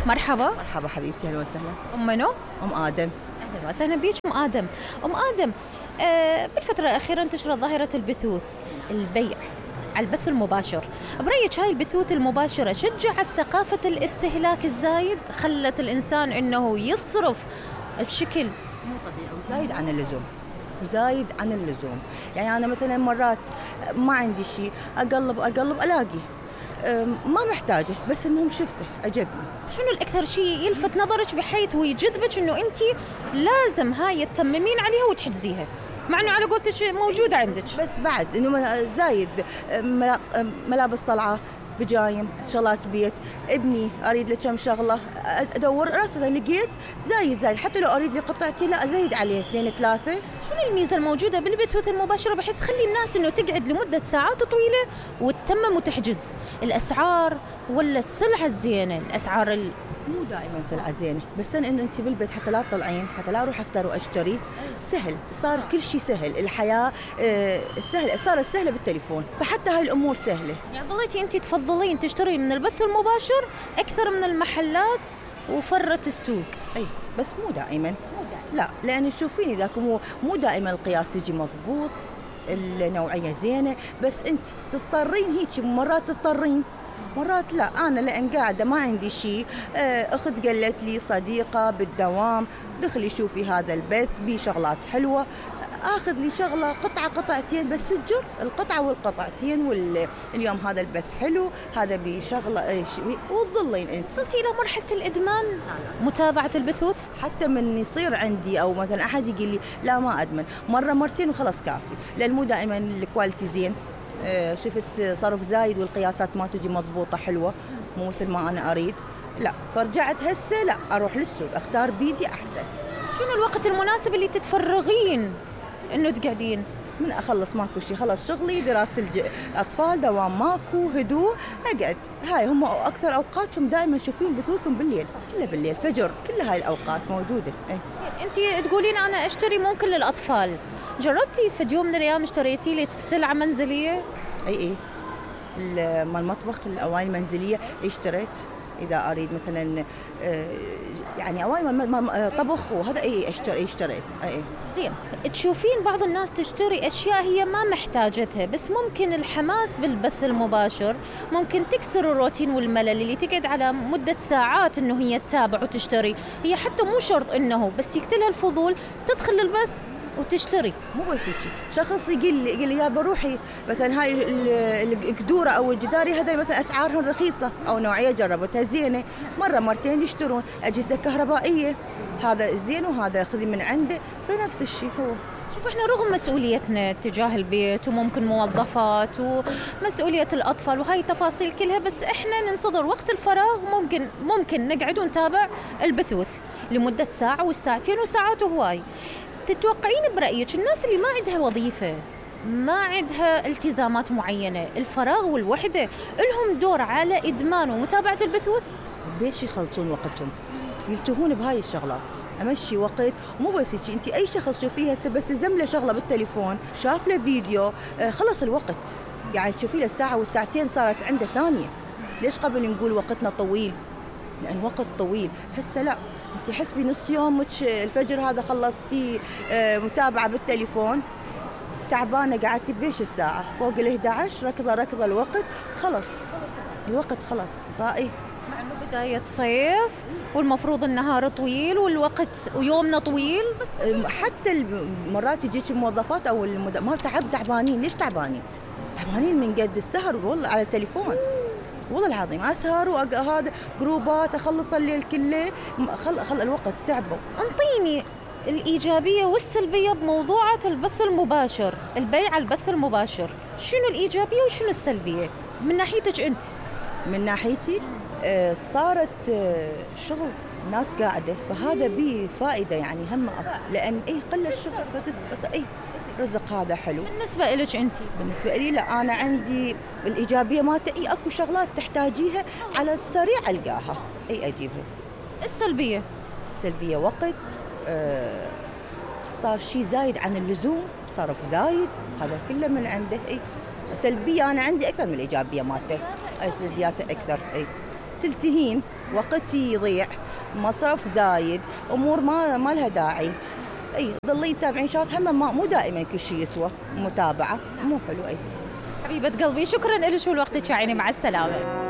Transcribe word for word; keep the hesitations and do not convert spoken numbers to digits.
مرحبا. مرحبا حبيبتي، اهلا وسهلا. ام منو؟ ام ادم. اهلا وسهلا بيك ام ادم. ام ادم، آه بالفتره الاخيره انتشرت ظاهره البثوث، البيع على البث المباشر. برأيك هاي البثوث المباشره شجعت ثقافه الاستهلاك الزايد، خلت الانسان انه يصرف بشكل مو طبيعي وزايد عن اللزوم، وزايد عن اللزوم. يعني انا مثلا مرات ما عندي شيء، اقلب اقلب الاقي ما محتاجه، بس المهم شفته عجبني. شنو الاكثر شيء يلفت نظرك بحيث ويجذبك انه انت لازم هاي تتممين عليها وتحجزيها، مع انه على قولتك موجوده عندك؟ بس بعد انه زايد ملابس طلعه، بجايم، شغلات بيت، ابني اريد له كم شغله، ادور راسا لقيت زايد زايد، حتى لو اريد لي قطعتي لا ازيد عليه اثنين ثلاثه. شنو الميزه الموجوده بالبثوث المباشره بحيث تخلي الناس انه تقعد لمده ساعات طويله وتتمم وتحجز؟ الاسعار ولا السلعه الزينه؟ الاسعار ال... مو دائما سلعه زينه، بس ان انت بالبيت حتى لا تطلعين، حتى لا اروح افطر واشتري، سهل، صار كل شيء سهل، الحياه سهله، صارت سهله بالتليفون، فحتى هاي الامور سهله. يعني ظليتي انت تفضلين تشتري من البث المباشر اكثر من المحلات وفرت السوق؟ اي بس مو دائما. مو دائما لا، لان تشوفيني ذاك مو مو دائما القياس يجي مضبوط، النوعيه زينه، بس انت تضطرين هيك مرات، تضطرين مرات لا. أنا لأن قاعدة ما عندي شيء، أخت قالت لي صديقة بالدوام دخلي شوفي هذا البث بيه شغلات حلوة، أخذ لي شغلة قطعة قطعتين بس تجر القطعة والقطعتين، واليوم هذا البث حلو، هذا بيه شغلة، وتظلين أنت. وصلتي إلى مرحلة الإدمان؟ لا لا. متابعة البثوث؟ حتى من يصير عندي أو مثلا أحد يقول لي لا ما أدمن، مرة مرتين وخلاص كافي، لأن مو دائما الكواليتي زين، شفت صرف زايد والقياسات ما تجي مضبوطة حلوة، مو مثل ما أنا أريد، لا، فرجعت هسه لا، أروح للسوق أختار بيدي أحسن. شنو الوقت المناسب اللي تتفرغين إنه تقعدين؟ من أخلص ماكو شيء، خلص شغلي، دراسة الأطفال، دوام ماكو، هدوء، أقعد. هاي هم أكثر أوقاتهم دائما شوفين بثوثهم بالليل، كله بالليل، فجر، كل هاي الأوقات موجودة. إيه؟ أنت تقولين أنا أشتري ممكن للأطفال، جربتي في يوم من الأيام اشتريتي لك سلعة منزلية؟ أي أي مال المطبخ، الأواني المنزلية اشتريت، إذا أريد مثلا يعني أواني طبخ وهذا أي اشتري اشتريت. أي زين، تشوفين بعض الناس تشتري أشياء هي ما محتاجتها، بس ممكن الحماس بالبث المباشر ممكن تكسر الروتين والملل اللي تقعد على مدة ساعات إنه هي تتابع وتشتري، هي حتى مو شرط إنه بس يقتلها الفضول تدخل البث وتشتري. مو بس هيك، شخص يقول لي يقول لي يا بروحي مثلا هاي القدوره او الجداري هذا مثلا اسعارهم رخيصه او نوعيه جربتها زينه، مره مرتين يشترون اجهزه كهربائيه، هذا زين وهذا خذي من عنده، فنفس الشيء هو. شوف احنا رغم مسؤوليتنا تجاه البيت وممكن موظفات ومسؤولية الأطفال وهاي التفاصيل كلها، بس احنا ننتظر وقت الفراغ، ممكن ممكن نقعد ونتابع البثوث لمدة ساعة والساعتين وساعات وهواي. تتوقعين برأيك الناس اللي ما عندها وظيفة، ما عندها التزامات معينة، الفراغ والوحدة، لهم دور على إدمان ومتابعة البثوث؟ بيش يخلصون وقتهم، يلتهون بهاي الشغلات، امشي وقت. مو بس هيك، انت اي شخص شوفيها بس زمله شغله بالتليفون، شاف له فيديو، خلص الوقت، يعني تشوفي له الساعه والساعتين صارت عنده ثانيه. ليش قبل نقول وقتنا طويل؟ لان وقت طويل. هسه لا، انت حسبي نص يومك الفجر هذا خلصتي متابعه بالتليفون، تعبانه قعدتي بيش الساعه فوق ال إحدى عشر، ركضه ركضه الوقت خلص، الوقت خلص. فاي مع انه بدايه صيف والمفروض النهار طويل والوقت ويومنا طويل، بس حتى مرات يجيك الموظفات او المد... ما تعب تعبانين. ليش تعبانين؟ تعبانين من قد السهر والله على التليفون، والله العظيم اسهر وهذا جروبات اخلص الليل كله، خل خل الوقت تعبوا. انطيني الايجابيه والسلبيه بموضوعة البث المباشر، البيع على البث المباشر، شنو الايجابيه وشنو السلبيه من ناحيتك انت؟ من ناحيتي آه صارت آه شغل ناس قاعده، فهذا به فائده يعني هم، لان اي خلى الشغل فتس اي رزق هذا حلو. بالنسبه لك انت؟ بالنسبه لي لا، انا عندي الايجابيه مالته اي اكو شغلات تحتاجيها على السريع القاها اي اجيبها. السلبيه؟ السلبيه وقت، آه صار شيء زايد عن اللزوم، صرف زايد، هذا كله من عنده. اي سلبيه انا عندي اكثر من الايجابيه مالته، سلبياته اكثر. اي تلتهين، وقتي يضيع، مصرف زايد، امور ما ما لها داعي. اي ظلين تتابعين شغلات هم ما مو دائما كل شيء يسوى متابعه، مو حلو. اي حبيبة قلبي شكرا لك ولوقتك يا عيني، مع السلامة.